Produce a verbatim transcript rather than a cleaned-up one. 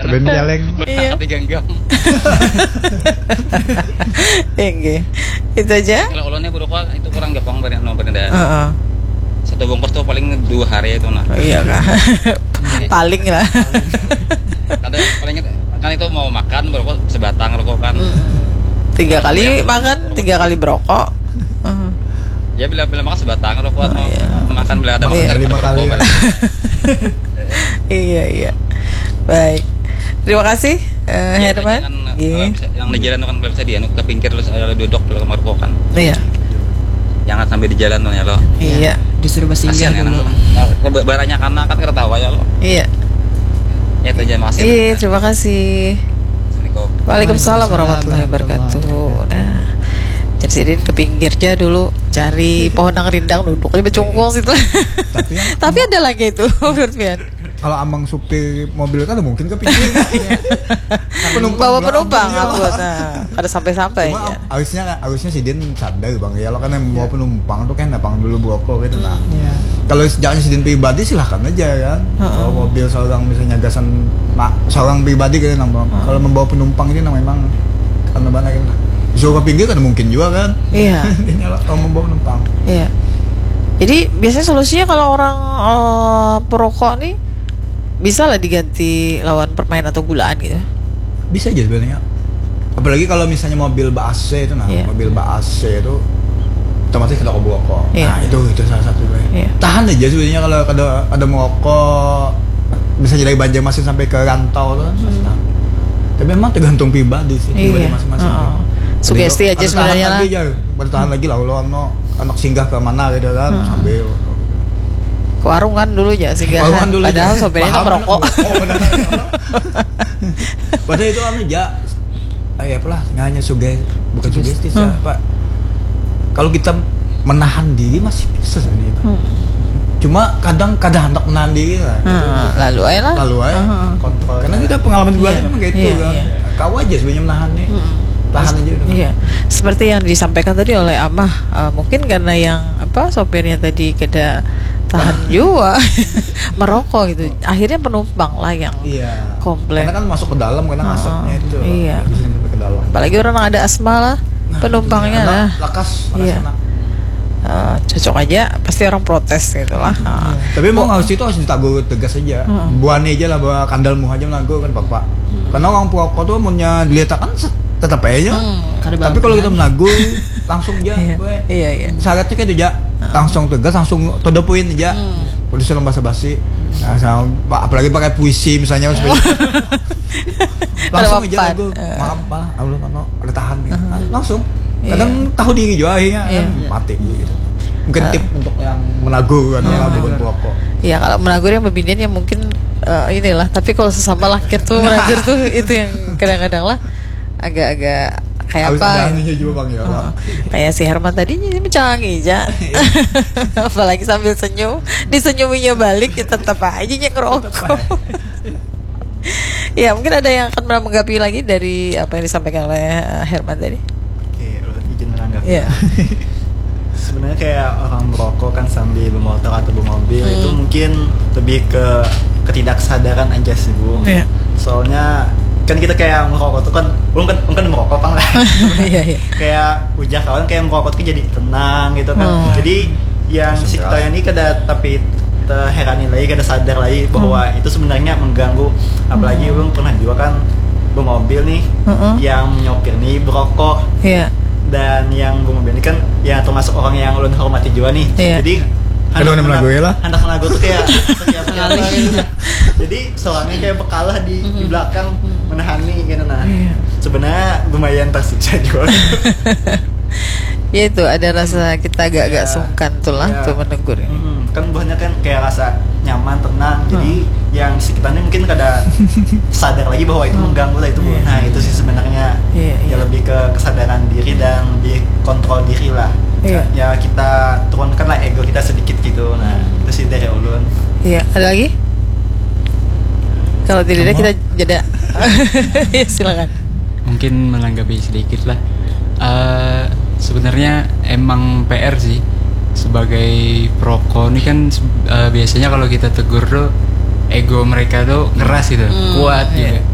Ben celeng. Iya. Tapi genggam. Inggih. Itu aja. Kalau ulunnya buruk itu kurang gepong bari anu bari dah. Heeh. Satu bungkus tuh paling dua hari itu nah. Oh, iya kah? Paling lah. Kada paling kan itu mau makan rokok sebatang rokok kan. Mm-mm. Tiga kali makan, tiga kali berokok. Mm. Ya bila bila makan sebatang rokok atau iya. Makan bila ada makan lima kali. Iya iya. Baik. Terima kasih. Uh, ya, Herman, yang di jalan kan kalau bisa dianu ke pinggir terus ada duduk dulu kamar kan. Iya. Jangan sampai di jalan tuh ya lo. Iya. Disuruh bersinggah dulu. Nah, baranya karena kan kereta ya lo. Iya. Ya itu aja makasih. Iya, terima kasih. Waalaikumsalam warahmatullahi wabarakatuh. Nah, jadi ke pinggir aja dulu cari pohon yang rindang duduk aja bercungkung situ. Tapi, tapi ada lagi itu menurut Pian. Kalau amang supir mobil kan mungkin ke pinggir. Penumpang bawa penumpang aku nah, ada sampai-sampai ya. Harusnya harusnya si Din sadar bang ya lo kan yang bawa penumpang tuh kan abang dulu bawa kok gitu nah. Kalau jangan si Din pribadi silahkan aja kan. Bawa mobil seorang misalnya gasan mak seorang pribadi gitu nang kalau membawa penumpang ini nang memang karena mana gitu nah. Suruh ke pinggir kan mungkin juga kan. Iya. Ini kalau membawa penumpang. Iya. Jadi biasanya solusinya kalau orang uh, perokok nih bisa lah diganti lawan permen atau gulaan gitu. Bisa aja sebenarnya. Apalagi kalau misalnya mobil ba A C itu nah, yeah. Mobil ba A C itu otomatis kita kobok kok. Yeah. Nah, itu itu salah satu yeah. Tahan aja sebenarnya kalau ada ada merokok bisa jadi banjar masih sampai ke rantau tuh. Hmm. Tapi memang tergantung pribadi sih, pribadi yeah. Masing-masing. Uh-uh. Sugesti aja sebenarnya lah. Bertahan lagi lah kalau anak singgah ke mana gitu kan hmm. Sambil ke warung kan dulu ya singgah. Padahal sopirnya kan merokok. Padahal itu anu ja. Ay apalah, hanya suge bukan sugesti sih, Pak. Kalau kita menahan diri masih bisa sebenarnya, Pak. Hmm. Cuma kadang kada hendak menahan diri lah. Gitu. Hmm, lalu aja lah. Lalu aja. Hmm. Kontrol. Karena kita pengalaman pribadi iya, memang kayak itu iya, kan. Iya. Kau aja sebenarnya menahan nih. Hmm. Tahan aja udah. Iya. Seperti yang disampaikan tadi oleh Amah, uh, mungkin karena yang apa sopirnya tadi kada tahan juga merokok gitu. Akhirnya penumpang lah yang iya. Komplain. Karena kan masuk ke dalam karena asapnya itu. Iya. Bisa sampai ke dalam. Apalagi orang ada asma lah, nah, penumpangnya iya. Lah. Lakas, lakas iya. Uh, cocok aja pasti orang protes gitu lah. Uh. Tapi emang harus itu harus ditagur tegas aja. Hmm. Buani aja lah bahwa kandalmu aja menagur kan bapak. Hmm. Karena orang perokok tuh punya dilihat kan tetap aja. Hmm. Tapi kalau kita menagur langsung aja. Iya. Iya, iya. Syaratnya kayak itu aja. Langsung tegas, langsung to the point aja. Hmm. Polisi lomba basa-basi. Nah, sama, apalagi pakai puisi misalnya langsung aja aku maaf pak, aku ada tahan nih. Langsung kadang tahu diri juga akhirnya kan mati gitu. Mungkin tip untuk yang menagur kan ya bukan perokok. Ya kalau menagur yang pembinian ya mungkin uh, inilah. Tapi kalau sesama laki tuh menagur tuh itu yang kadang-kadang lah agak-agak kayak apa? Juga bang ya. Oh, kayak si Herman tadi ini mencangi aja. Apalagi sambil senyum, disenyuminya balik ya tetap aja yang ngerokok. Ya mungkin ada yang akan menanggapi lagi dari apa yang disampaikan oleh eh, Herman tadi. Oke, izin menanggapi. Ya. Sebenarnya kayak orang merokok kan sambil bermotor atau bermobil hmm. Itu mungkin lebih ke ketidaksadaran aja sih bu. Ya. Soalnya kan kita kayak merokok tuh kan, belum kan, belum kan merokok kan lah. Iya iya. Kayak ujar kawan kayak merokok tuh jadi tenang gitu kan. Hmm. Jadi yang si kita ini kada tapi terherani lagi, kada sadar lagi bahwa hmm. Itu sebenarnya mengganggu. Apalagi hmm. Ulun pernah juga kan bermobil nih, hmm. Yang nyopir nih berokok. Iya. Dan yang bermobil ini kan ya termasuk orang yang ulun hormati juga nih. Iya. Jadi aduh, anak menagu ya lah. Anak menagu tuh kayak setiap kali. Jadi seorangnya kayak bekalah di, di belakang menahani gitu nah. Iya. Sebenarnya lumayan tersiksa juga. Ya itu ada rasa kita agak-agak ya, sungkan tuh lah ya. Tuh menegur. Hmm, kan buahnya kan kayak rasa nyaman, tenang. Hmm. Jadi yang sekitarnya mungkin kada sadar lagi bahwa itu hmm. Mengganggu lah itu. Iya. Nah, itu sih sebenarnya iya, ya iya. Lebih ke kesadaran diri dan lebih kontrol diri lah. Iya. Ya kita turunkan lah ego kita sedikit gitu. Nah, itu sih dari ulun. Iya, ada lagi? Kalau tidak ada kita jeda. Ya, silakan. Mungkin menanggapi sedikit lah. Uh, sebenarnya emang P R sih sebagai perokok ini kan uh, biasanya kalau kita tegur tuh ego mereka tuh keras gitu, hmm, kuat iya. Juga.